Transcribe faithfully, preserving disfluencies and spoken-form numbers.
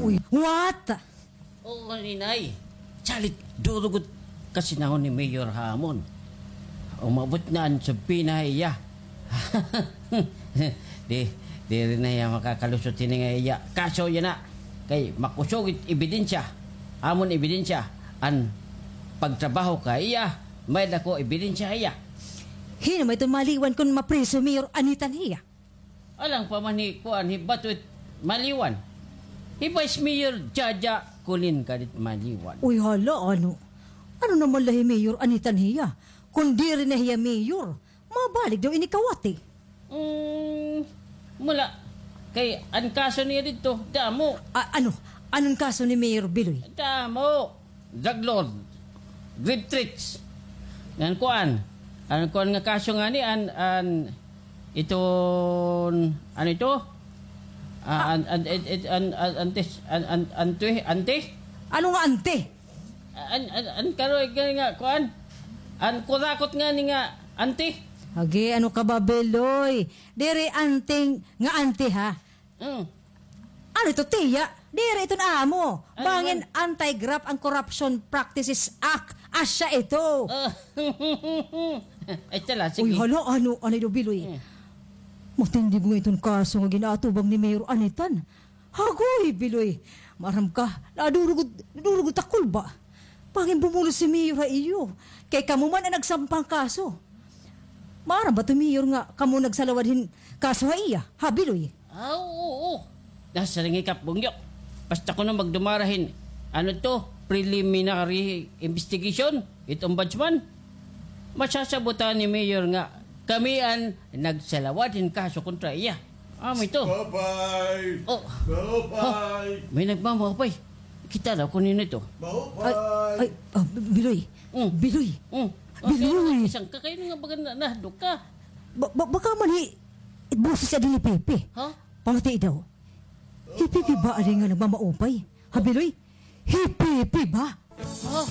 Uy, what? Oo, Ninay. Salit, duro gud kasinahon ni Mayor ha amon. Umabot na an subpina ha iya. Di, diri na hiya makakalusot hini nga iya kaso yana. Kay makusog it ebidensya. Amon ebidensya an pagtrabaho ka iya. May-ada ko ebidensya ha iya. Hin-o man iton maliwan kon mapriso hi Mayor Anitan hiya? Alang pa man hi kuan, hi Bato it maliwan. Hi Vice Mayor Jaja Colin gad it maliwan. Uy, hala, ano? Ano naman la hi Mayor Anitan hiya? Kon diri na hiya mayor, mabalik daw ini kawati. Mm, mula. Kay an kaso niya didto, damo. A-, ano? Ano an kaso ni Mayor Biloy? Damo. Drug lord, grip tricks. Ngan kuan. An kuan nga kaso ngani, an, an, iton, ano ito? Ah, an, an, it, it, an, an, antes, an, an, ante, ante? Ano nga ante? An, an, an karoy gani nga, kuan? An kurakot ngani nga, ante? Agi, ano ka ba, Biloy? Diri anting nga ante, ha? Mm. Ano ito, tiya? Diri iton amo. Ano bangin man? Anti-Graft and Corruption Practices Act. Asya ito. Ah, ay, tala, sige. Uy, hala, ano, ano ito, Biloy? Mm. Matindi nga iton kaso nga ginaatubang ni Mayor Anitan. Hagoy, Biloy. Maaram ka, nadurog, nadurog takol ba? Bangin bumulos si Mayor ha iyo. Kay kamo man an nagsampa han kaso. Maaram ba to, Mayor, nga kamo nagsalawad hin kaso ha iya, ha, Biloy? Ah, oo, oo. Nasiring hi Kap Bungyo. Basta kuno magdumara hin, ano to, preliminary investigation, it ombudsman. Masasabutan ni Mayor nga kami an nagsalawad hin kaso kontra iya. Amo ito. Bye-bye. Oh. Bye-bye. Ha, may nagmamaupay. Kita daw kuno ito. Ay, ay, ah, Biloy. Mm. Biloy. Mm. Biloy. Isang kakain nga baga na, nahadlok ka. Ba-, ba-, baka man hi-, boses adi ni Pepe. Ha? Pamati daw. Hi Pepe ba adi nga nagmamaupay? Ha, Biloy? Hi Pepe ba? Ha?